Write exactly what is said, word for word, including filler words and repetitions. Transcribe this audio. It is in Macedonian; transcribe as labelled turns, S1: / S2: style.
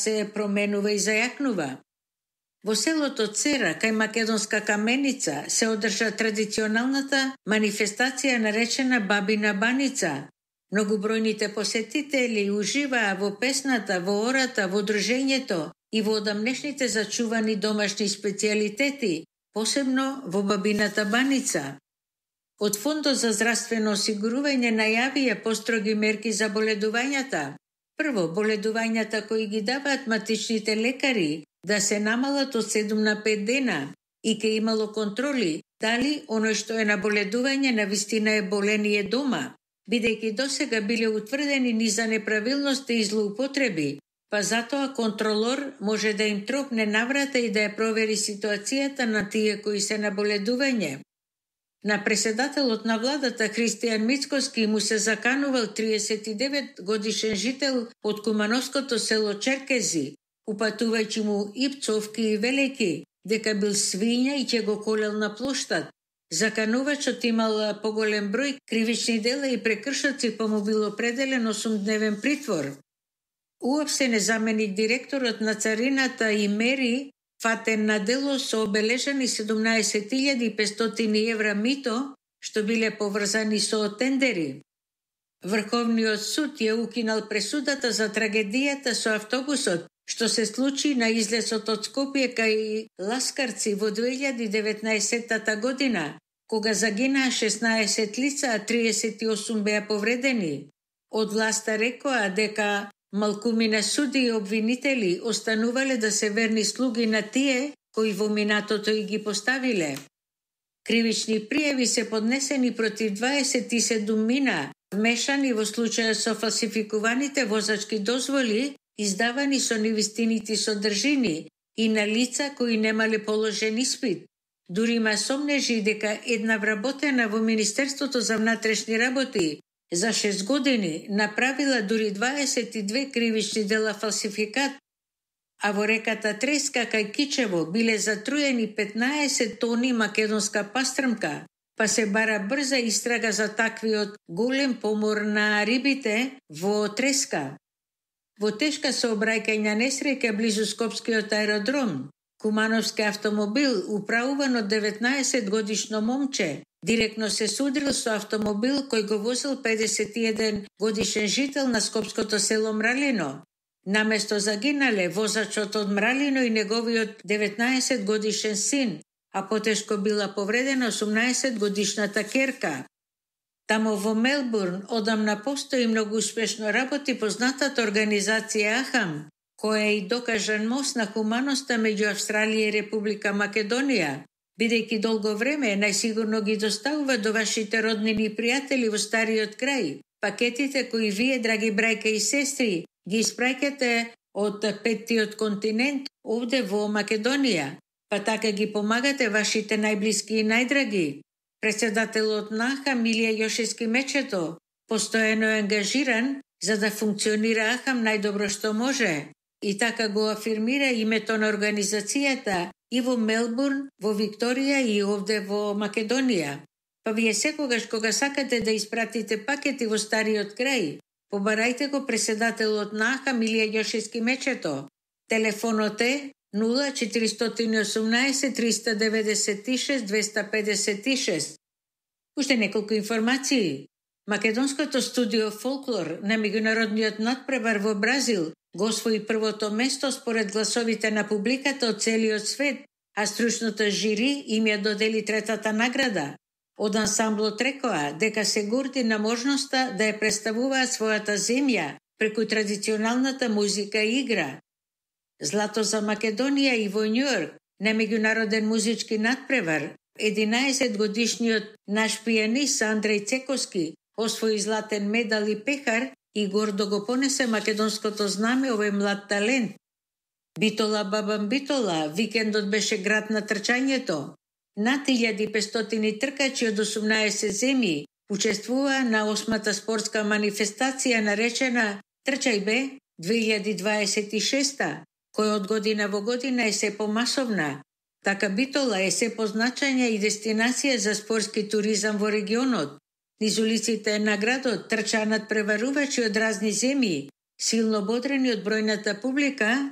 S1: се променува и зајакнува. Во селото Цера, кај Македонска каменица, се одржа традиционалната манифестација наречена Бабина баница. Многобројните посетители уживаа во песната, во ората, во дружењето и во одамнешните зачувани домашни специјалитети, посебно во Бабината баница. Од Фондот за здравствено осигурување најавија построги мерки за боледувањата. Прво, боледувањата кои ги даваат матичните лекари да се намалат од седум на пет дена и ке имало контроли дали оној што е на боледување на вистина е болен и е дома, бидејќи досега биле утврдени низа неправилности и злоупотреби, па затоа контролор може да им тропне наврата и да ја провери ситуацијата на тие кои се на боледување. На преседателот на владата Христијан Мицкоски му се заканувал триесет и девет годишен жител од кумановското село Черкези, упатувајќи му и пцовки и велики, дека бил свиња и ќе го колел на плоштад. Заканувачот имал поголем број кривични дела и прекршоци, па му бил определен осумдневен притвор. Уопштен е заменик директорот на царината и мери фатен на дело со обележани седумнаесет илјади и петстотини евра мито, што биле поврзани со тендери. Врховниот суд ја укинал пресудата за трагедијата со автобусот, што се случи на излезот од Скопје кај Ласкарци во две илјади и деветнаесетта година, кога загинаа шеснаесет лица, а триесет и осум беа повредени. Од власта рекоа дека малкумина суди и обвинители останувале да се верни слуги на тие кои во минатото и ги поставиле. Кривични пријави се поднесени против дваесет и седум мина, вмешани во случаја со фалсификуваните возачки дозволи, издавани со невистините содржини и на лица кои немале положен испит. Дури има сомнежи дека една вработена во Министерството за внатрешни работи за шест години направила дури дваесет и две кривични дела фалсификат, а во реката Треска кај Кичево биле затруени петнаесет тони македонска пастрмка, па се бара брза истрага за таквиот голем помор на рибите во Треска. Во тешка сообраќајна несреќа близу Скопскиот аеродром, кумановски автомобил управуван од деветнаесет годишно момче директно се судрил со автомобил кој го возил педесет и еден годишен жител на скопското село Мралино. Наместо загинале возачот од Мралино и неговиот деветнаесет годишен син, а потешко била повредена осумнаесет годишната керка. Тамо во Мелбурн одамна постои многу успешно работи познатата организација Ахам, која е и докажан мост на хуманоста меѓу Австралија и Република Македонија, бидејќи долго време најсигурно ги доставува до вашите роднини и пријатели во стариот крај пакетите кои вие, драги брајка и сестри, ги испраќате од петтиот континент овде во Македонија, па така ги помагате вашите најблиски и најдраги. Председателот на Ахам Илија Јошевски Мечето постојано е ангажиран за да функционира Ахам најдобро што може и така го афирмира името на организацијата и во Мелбурн, во Викторија и овде во Македонија. Па вие секогаш кога сакате да испратите пакети во стариот крај, побарајте го председателот на Ахам Илија Јошевски Мечето. Телефонот е нула четиристотини и осумнаесет триста деветдесет и шест двеста педесет и шест. Уште неколку информации. Македонското студио Фолклор на меѓународниот надпревар во Бразил го освои првото место според гласовите на публиката од целиот свет, а стручното жири им ја додели третата награда. Од ансамблот рекоа дека се горди на можноста да ја представуваат својата земја преку традиционалната музика и игра. Злато за Македонија и во Њујорк на меѓународен музички надпревар единаесет годишниот наш пијанист Андреј Цековски освои златен медал и пехар и гордо го понесе македонското знаме овој млад талент. Битола бабам битола, викендот беше град на трчањето. Над илјада и петстотини тркачи од осумнаесет земји учествуваа на осмата спортска манифестација наречена Трчај бе две илјади дваесет и шеста, која од година во година е се помасовна. Така Битола е се позначања и дестинација за спортски туризам во регионот. Низ улиците на градот трчаат преварувачи од разни земји, силно бодрени од бројната публика